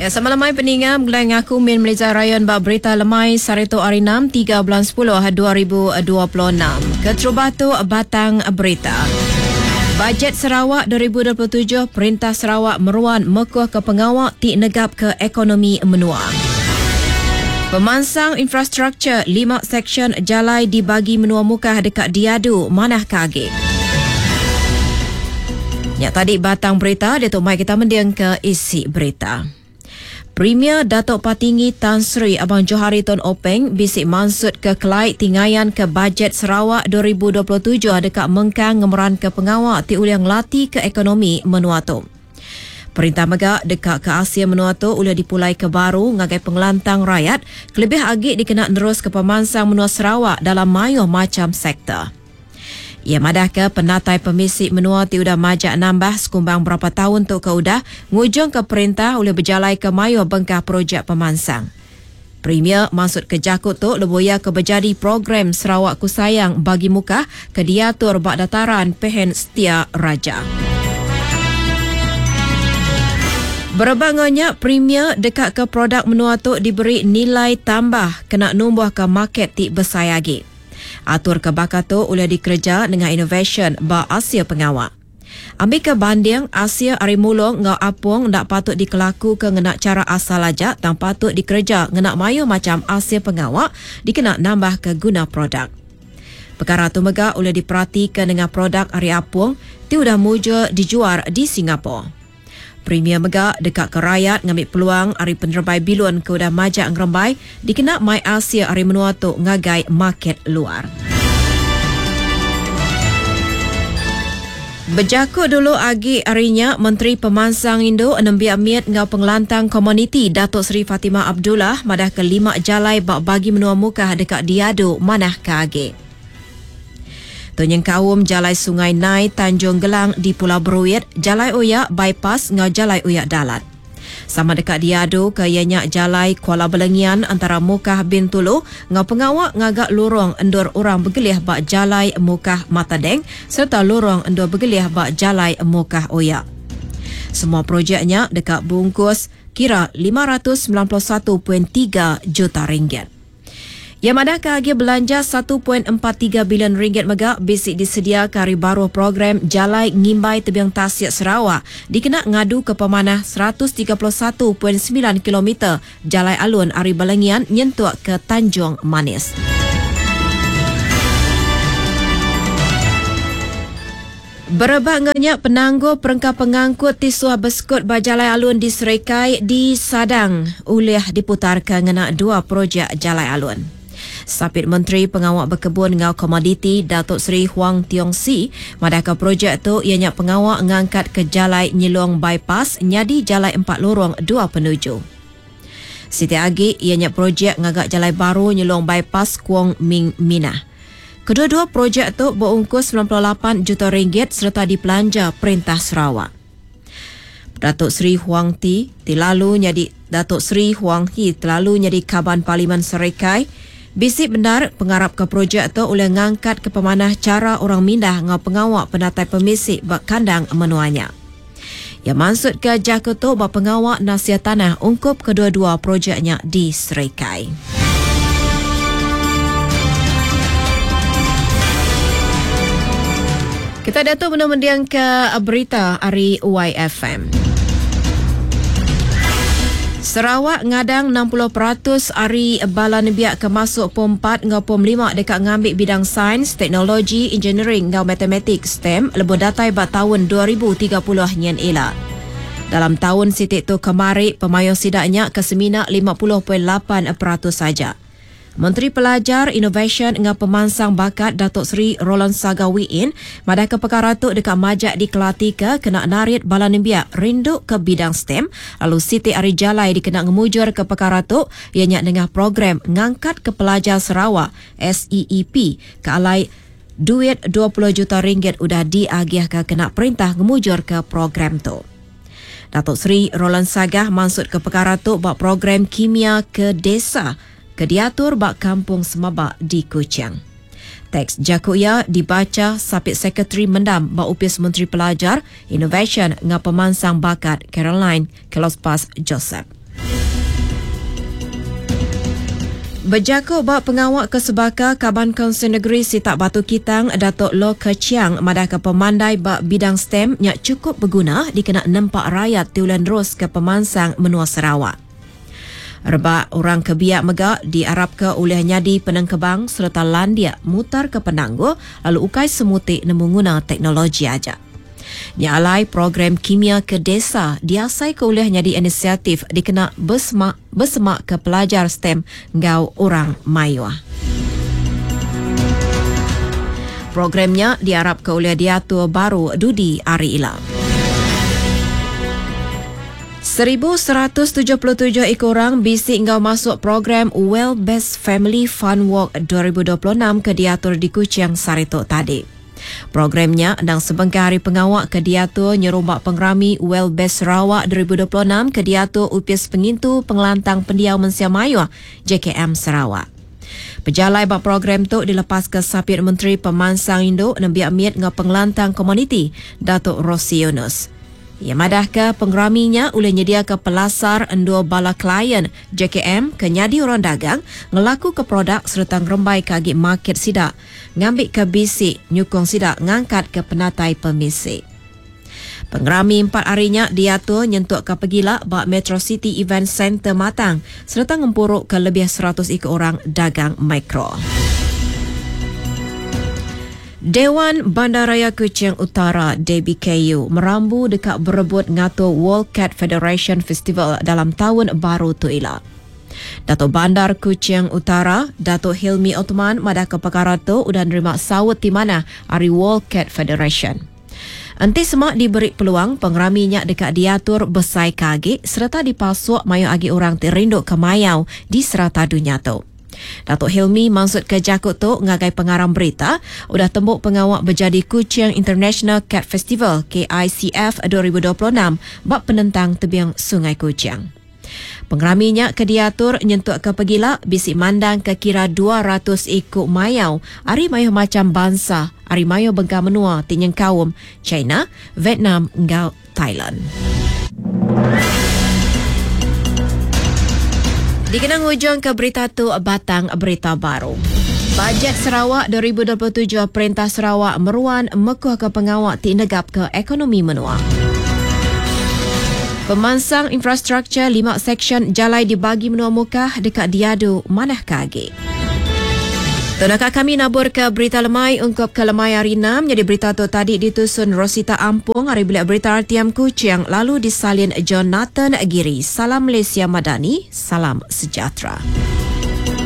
Ya, sama lemai peninga begulai ngaku Min Meliza Rayon ba berita lemai sehari tu hari 6 3 bulan 10 2026. Keterubah tu batang berita. Bajet Sarawak 2027 Perintah Sarawak meruan mekuh ke pengawa ti negap ke ekonomi menua. Pemansang infrastruktur lima seksyen jalai di bagi menua Mukah deka diadu manah ke agi. Nya tadi batang berita diatu mai kita mending ke isi berita. Premier Datuk Patinggi Tan Sri Abang Johari Tun Openg bisi mansut ke kelai ti ngayan ke Bajet Sarawak 2027 deka mengkang ngemeranka pengawa ti ulih ngelatika ekonomi menua tu. Perintah mega deka ke asil menua tu ulih dipulaika baru ngagai pengelantang rayat kelebih agi dikena neruska pemansang menua Sarawak dalam mayuh macham sektor. Iya madahka penatai pemisi menua ti udah majak nambah sekumbang berapa taun tu ke udah ngujungka perintah ulih bejalaika mayuh bengkah projek pemansang. Premier mansutka jaku tu lebuh iya ke bejadi program Sarawakku Sayang Bagi Mukah ke diatur ba Dataran Pehen Setia Raja. Berebak enggau nya, Premier dekaka produk menua tu diberi nilai tambah kena numbuhka market ti besai agi. Atur ke baka tu ulih dikereja nengah inovasyen ba asil pengawa. Ambika banding, asil ari mulung enggau apung enda patut dikelakuka ngena chara asal aja tang patut dikereja ngena mayuh macham asil pengawa dikena nambahka guna produk. Pekara tu mega ulih diperatika nengah produk ari apung ti udah mujur dijuar di Singapore. Premier mega deka ke rayat ngambi peluang ari penerebai bilun ke udah majak ngerembai dikena mai asil ari menua tu ngagai market luar. Bejaku dulu agi ari nya, Menteri Pemansang Indu, Nembiak Mit enggau Pengelantang Komuniti Datuk Seri Fatimah Abdullah madahka lima jalai ba bagi menua Mukah deka diadu manahka agi. Tu nyengkaum Jalai Sungai Nai, Tanjung Gelang di Pulau Beruit, Jalai Oya Bypass enggau Jalai Oya Dalat. Sama deka diadu ke iya nya Jalai Kuala Belengian antara Mukah Bintulu enggau pengawa ngaga lurong endur orang begelih ba Jalai Mukah Matadeng sereta lurong endur begelih ba Jalai Mukah Oya. Semua projek nya deka beungkus kira 591.3 juta ringgit. Iya madahka agih belanja 1.43 bilion ringgit mega bisi disediaka ari baruh program Jalai Ngimbai Tebing Tasik Sarawak dikena ngaduka pemanah 131.9 kilometer jalai alun ari Balangian nyentuk ke Tanjung Manis. Berebak enggau nya, penanggul perengka pengangkut ti suah besekut ba jalai alun di Serikai disadang ulih diputarka ngena dua projek jalai alun. Sapit Menteri Pengawa Bekebun enggau Komoditi Datuk Seri Huang Tiong Sii madahka projek tu iya nya pengawa ngangkatka Jalai Nyelong Bypass nyadi jalai empat lorong dua penuju. Siti agi iya nya projek ngaga jalai baru Nyelong Bypass Kuong Ming Minah. Kedua-dua projek tu beungkus 98 juta ringgit sereta dipelanja Perintah Sarawak. Datuk Seri Huang Ti ti lalu nyadi Datuk Seri Huang Hee telalu nyadi Kaban Parlimen Serikai bisi bendar pengarapka projek tu ulih ngangkatka pemanah chara orang mindah enggau pengawa penatai pemisi ba kandang menua nya. Iya mansutka jaku tu ba pengawa nasih tanah ungkup kedua-dua projek nya di Serikai. Kita diatu benung mendingka berita ari YFM. Sarawak ngadang 60% ari bala nembiak ke masuk Pom 4 enggau Pom 5 deka ngambi bidang Sains, Teknologi, Engineering enggau Matematik, STEM, lebuh datai ba taun 2030 nyin ila. Dalam taun siti tu kemari, pemayuh sida nya ke semina 50.8% aja. Menteri Pelajar, Inovasyen enggau Pemansang Bakat Datuk Seri Roland Saga Wiin madahka pekara tu deka majak dikelatika kena narit bala nembiak rindu ke bidang STEM lalu siti ari jalai dikena ngemujurka pekara tu iya nya nengah program ngangkatka pelajar Sarawak, SEEP, ke alai duit 20 juta ringgit udah diagihka kena perintah ngemujurka program tu. Datuk Seri Roland Sagah mansutka pekara tu ba program Kimia ke Desa ke diatur ba Kampung Semaba di Kuching. Teks jaku iya dibacha Sapit Sekretari Mendam ba Opis Menteri Pelajar, Inovasyen enggau Pemansang Bakat Caroline Kelospas Joseph. Bejaku ba pengawa ke sebaka, Kaban Kunsil Negeri Sitak Batu Kitang Datuk Lo Khere Chiang madahka pemandai ba bidang STEM nya chukup beguna dikena nempa rayat ti ulih neruska pemansang menua Sarawak. Rebak orang ke biak mega diarapka ulih nyadi penengkebang sereta landik mutarka penanggul lalu ukai semuti nemu nguna teknologi aja. Nya alai program Kimia ke Desa diasaika ulih nyadi inisiatif dikena besemak besemakka pelajar STEM enggau orang mayuh. Program nya diarapka ulih diatur baru dudi hari ila. 1177 iku orang bisi enggau masuk program Well Best Family Fun Walk 2026 ke diatur di Kuching sehari tu tadi. Program nya endang sebengkah ari pengawa ke diatur nyerumba pengerami Well Best Sarawak 2026 ke diatur Opis Pengintu Pengelantang Pendiau Mensia Mayuh, JKM Sarawak. Pejalai ba program tu dilepaska Sapit Menteri Pemansang Indu, Nembiak Mit enggau Pengelantang Komuniti, Datuk Rosey Yunus. Iya madahka pengerami nya ulih nyediaka pelasar endur bala klien JKM ke nyadi orang dagang ngelakuka produk sereta ngerembaika agi market sida ngambika bisi nyukung sida ngangkatka penatai pemisi. Pengerami empat hari nya diatur nyentukka pegila ba Metro City Event Centre Matang sereta ngempuruka lebih 100 iku orang dagang mikro. Dewan Bandaraya Kuching Utara, DBKU, merambu deka berebut ngatur World Cat Federation Festival dalam taun baru tu ila. Datuk Bandar Kuching Utara, Datuk Hilmi Othman madahka pekara tu udah nerima saut ti manah ari World Cat Federation. Enti sema diberi peluang, pengerami nya deka diatur besai ke agi sereta dipasuk mayuh agi orang ti rinduka mayau di serata dunya tu. Datuk Hilmi mansutka jaku tu ngagai pengarang berita udah tembu pengawa bejadi Kuching International Cat Festival, KICF, 2026 ba penentang tebing Sungai Kuching. Pengerami nya ke diatur nyentukka pegila bisi mandangka kira 200 iku mayau ari mayuh macham bansa ari mayuh bengkah menua ti nyengkaum China, Vietnam enggau Thailand. Dikena ngujungka berita tu batang berita baru. Bajet Sarawak 2027 Perintah Sarawak meruan mekuhka pengawa ti negapka ekonomi menua. Pemansang infrastruktur lima seksyen jalai di bagi menua Mukah deka diadu manahka agi. Tu naka kami naburka berita lemai ungkup ke lemai hari Enam nyadi berita tu tadi ditusun Rosita Ampung ari Bilik Berita RTM Kuching lalu disalin Jonathan Giri. Salam Malaysia Madani, salam sejahtera.